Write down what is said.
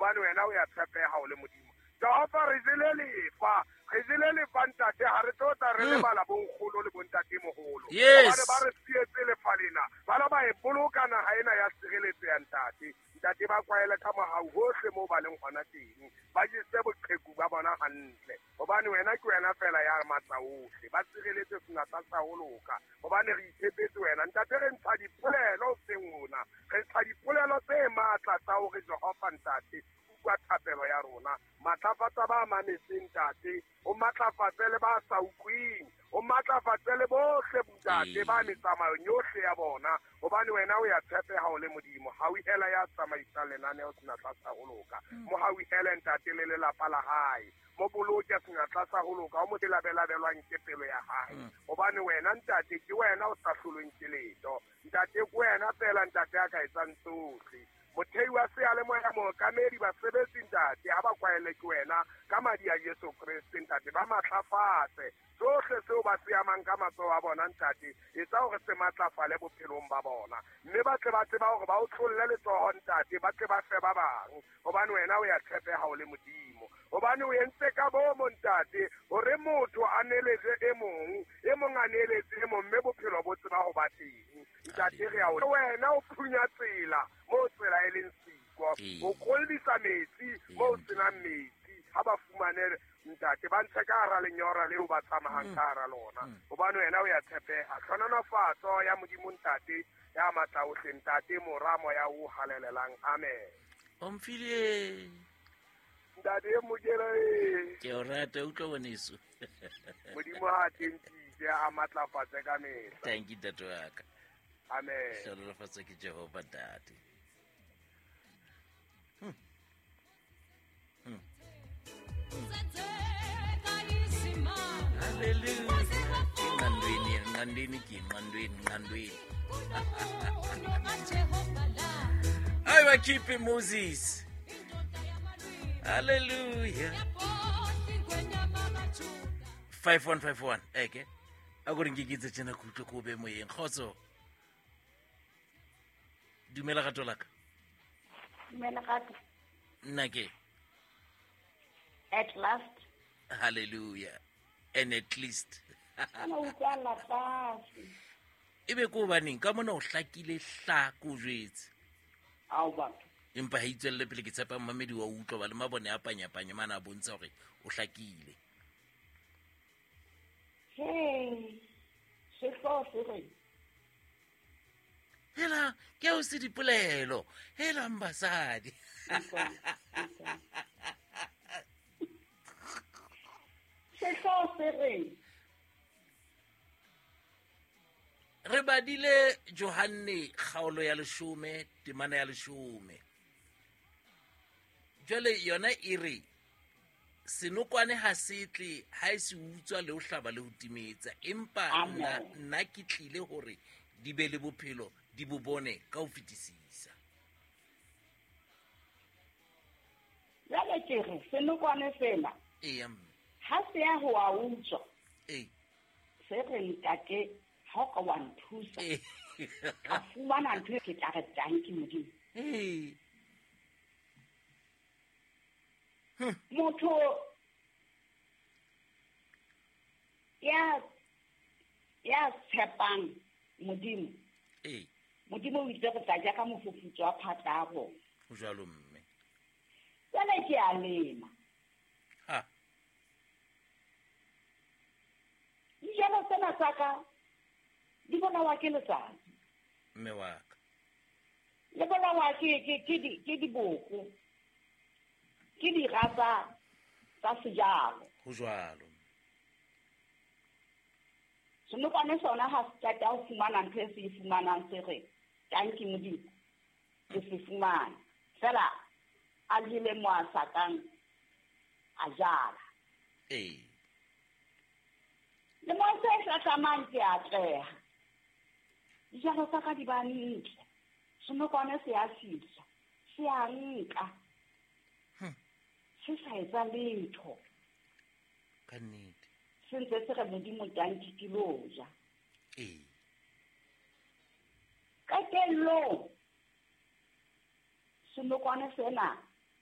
Hobane wena o ya tshepeha o le Modimo. Jehova re jele lefa, re jele lefa ntate, ha re tlo tla re lebala bonkgono le bontate moholo. Yes. Hobane ba re sietse lefa lena, ba la ba e boloka naha ena ya sireletso ya ntate. Ntate ba kwaele ka mohau hohle moo ba leng hona teng. Ba jese boqheku ba bona hantle. Hobane wena ke wena fela ya matla ohle. Ba sireletse senatla sa ho loka. Hobane re itshepetse wena. Ntate re ntsha dipolelo hoseng hona. Re ntsha dipolelo tse matla tsa hore Jehova ntate utlwa thapelo ya rona. Matlafatsa ba mametseng ntate, o matlafatse le ba sa utlwing, o matlafatse le bohle ntate ba metsamayong yohle ya bona, hobane wena o ya tshepeha o le Modimo. Hauhela ya tsamaisang lenaneo senatla sa ho loka. Mo hauhele ntate le lelapa la hae. Mo boloke senatla sa ho loka, o mo labelabelwang ke pelo ya hae. Hobane wena ntate ke wena o sa hlolweng ke letho. Ntate ke wena fela ntate a ka etsang tsohle. Mothei wa seyalemoya, mookamedi, basebetsi ntate, ha ba kwaele ke wena ka madi a Jesu Kreste ntate, ba matlafatse tsohle seo ba se amang ka matsoho a bona ntate, etsa hore se matlafale bophelong ba bona, mme ba tle ba tseba hore ba o tlolle letsoho ntate, ba tle ba fe ba bang, hobane wena o ya tshepeha o le Modimo. Hobane o entse ka bomo ntate hore motho a neletse e mong, e mong a neletse e mong, mme bophelo bo tseba ho ba teng. Ntate re a o wena o phunya tsela moo tsela e leng siko, o kollisa metsi moo senang metsi, ha ba fumane ntate ba ntshe ka hara lenyora leo ba tsamayang ka hara lona, hobane wena o ya tshepeha. Tlhonolofatso ya Modimo ntate ya matla ohle, ntate Mora Moya o halalelang. Amen. O mfile ntate Mokele, ke o rata, utlwa ngwaneso. Modimo ha tentise a matlafatse ka mehla. Thank you ntate wa ka. Amen. Hlonolofatso ke Jehova ntate. Hallelujah. Nqandweni, nqandweni ke nqandweni, nqandweni. Hayi bakhiphe Moses. Hallelujah. 5151 eke. A go re nkeketse tjena ke utlwe ko be moyeng. Kgotso. Dumela gato la ka. Dumela gato. Nna ke. At last. Hallelujah. And at least. Ana utlwala tlase. E be ko hobaneng ka mona o hlakile hla ko jwetse. Ao batho. Empa ha itswelle pele ke tshepa mmamedi wa utlwa ba le mabone a panyapanya mana a bontsha hore o hlakile. Hey, sehlooho se reng? Hela, ke o se dipolelo. Hela mbasadi. Sehlooho se reng? Re badile Johanne kgaolo ya 10, temana ya 10. Jwale yona e re senokwane ha se tle ha e se utswa le ho hlaba le ho timetsa, empa nna ke tlile hore di be le bophelo, di bo bone ka ho fetisisa. Jwale ke re senokwane sena eya mme ha se ya ho a utswa, ee se re ntate ha o ka wa nthusa ka fumana ntho e ke tla re tanki Modimo. Ee. Motho ya tshepang Modimo. Ee. Modimo o itse re tla ja ka mofufutso wa phatla ya rona. Ho jwalo mme. Jwale ke a lema. Ha. Dijalo tsena tsa ka di bolawa ke letsatsi. Mme wa ka. Le bolawa ke diboko. Ke dira tsa sejalo. Ho jwalo. Senokwane sona ha se qeta ho fumana ntho e se e fumanang se re tanki Modimo ke se fumana. Fela a jele mo a sa kang a jala. Ee. Le mo se hlahlamang ke atleha. Dijalo tsa ka di ba ntle. Senokwane se a fihla, se a nka. Se sa etsa letho. Ka nnete. Se ntse se re Modimo tanki ke lo ja. Ee. Qetellong senokwane sena